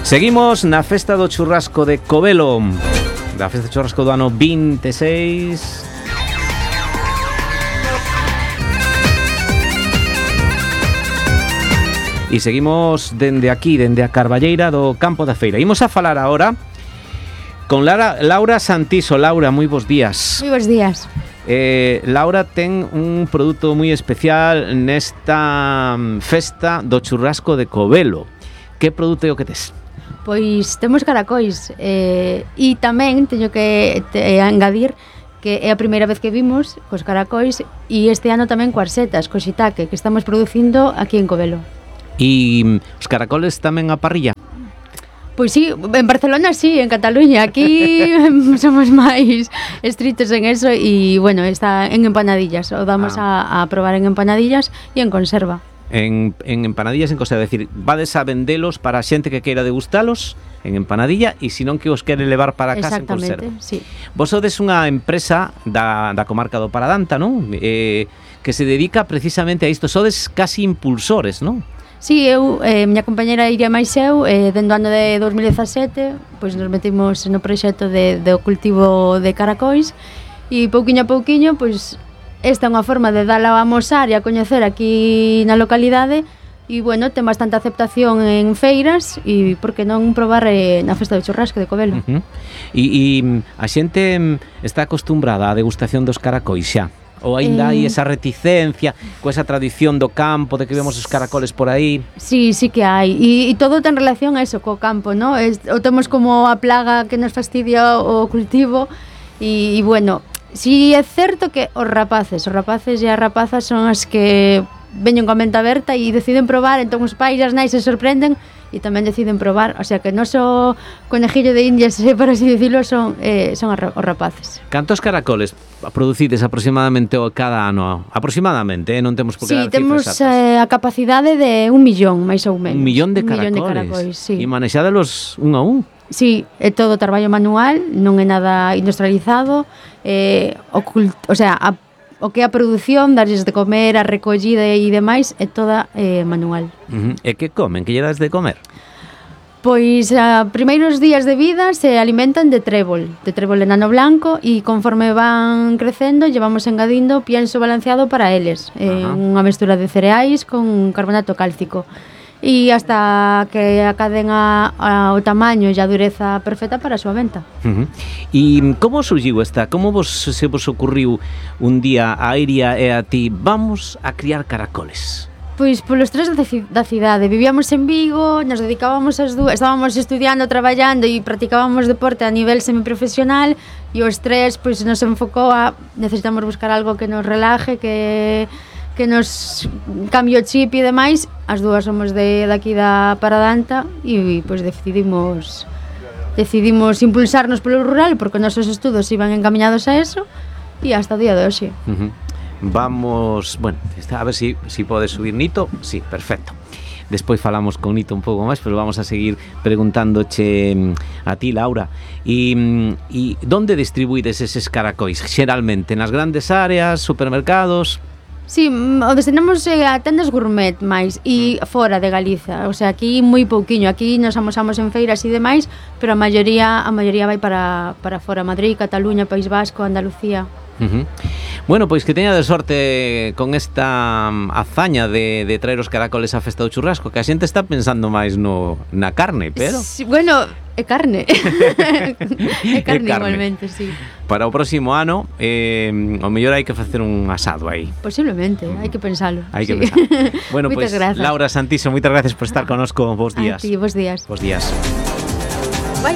Seguimos na festa do churrasco de Covelo, da festa do churrasco do ano 26. E seguimos dende aquí, dende a Carballeira do Campo da Feira. Imos a falar agora con Laura Santiso. Laura, moi bons días. Moi bons días. Laura ten un produto moi especial nesta festa do churrasco de Covelo. Que produto é o que tes? Pois temos caracois e tamén teño que engadir que é a primeira vez que vimos cos caracois e este ano tamén coas setas, co shiitake que estamos producindo aquí en Covelo. E os caracoles tamén a parrilla? Pois sí, en Barcelona sí, en Cataluña. Aquí somos máis estritos en eso e, bueno, está en empanadillas. O damos a probar en empanadillas e en conserva. En empanadillas en conserva, é dicir, vades a vendelos para a xente que queira degustalos en empanadilla e se non que os quere levar para casa en conserva. Exactamente, sí. Vos sodes unha empresa da comarca do Paradanta, non? Que se dedica precisamente a isto. Sodes casi impulsores, non? Sí, eu, miña compañera Iria máis eu, dentro do ano de 2017, pois nos metimos no proxecto do cultivo de caracois e pouquiño a pouquiño, pois esta é unha forma de dala a amosar e a coñecer aquí na localidade e, bueno, ten bastante aceptación en feiras e, por que non, probar na festa do churrasco de Covelo. E a xente está acostumbrada á degustación dos caracois xa? Ou ainda hai esa reticencia coa esa tradición do campo de que vemos os caracoles por aí? Sí, sí que hai e todo ten relación a eso, co campo, ¿no? O temos como a plaga que nos fastidia o cultivo e bueno, sí é certo que os rapaces e as rapazas son as que veñen coa mente aberta e deciden probar, entón os pais e as nais se sorprenden e tamén deciden probar, o sea que non so conejillo de indias, por así decirlo, son os rapaces. Cantos caracoles producides aproximadamente cada ano? Aproximadamente, non temos por que dar cifras exactas. Sí, temos a capacidade de 1 millón, máis ou menos. 1 millón de caracoles? 1 millón de caracoles, sí. E manexádelos un a un? Sí, é todo traballo manual, non é nada industrializado, o sea, o que é a produción, darlles de comer, a recollida e demais, é toda manual. E que comen? Que lle das de comer? Pois a primeiros días de vida se alimentan de trébol enano blanco e conforme van crecendo llevamos engadindo pienso balanceado para eles, unha mestura de cereais con carbonato cálcico e hasta que acaden o tamaño e a dureza perfecta para a súa venta. E como surgiu como se vos ocurriu un día a Iria e a ti, vamos a criar caracoles? Pois polos tres da cidade, vivíamos en Vigo, nos dedicábamos as dúas, estábamos estudiando, traballando e practicábamos deporte a nivel semiprofesional e os tres pois nos enfocou a necesitamos buscar algo que nos relaje, que nos cambie o chip e demais. As dúas somos daqui da Paradanta e pois decidimos impulsarnos polo rural porque os nosos estudos iban encaminados a eso e hasta o día de hoxe. Vamos, bueno, a ver si podes subir Nito. Sí, perfecto. Despois falamos con Nito un pouco máis, pero vamos a seguir preguntándoche a ti, Laura. E donde distribuídes eses caracois? Xeralmente nas grandes áreas, supermercados? Sí, o destinamos a tendas gourmet máis e fora de Galiza, o sea, aquí moi pouquiño, aquí nos amosamos en feiras e demais, pero a maioría vai para fora, Madrid, Cataluña, País Vasco, Andalucía. Bueno, pois que teña de sorte con esta hazaña de traer os caracoles á festa do churrasco, que a xente está pensando máis na carne, pero... Sí, bueno, é carne. É carne igualmente, sí. Para o próximo ano, o mellor hai que facer un asado aí. Posiblemente, hai que pensalo. Hai que pensar. Bueno, pois, Laura Santiso, moitas gracias por estar connosco. Bos días. A ti, bos días. Bos días. Bye.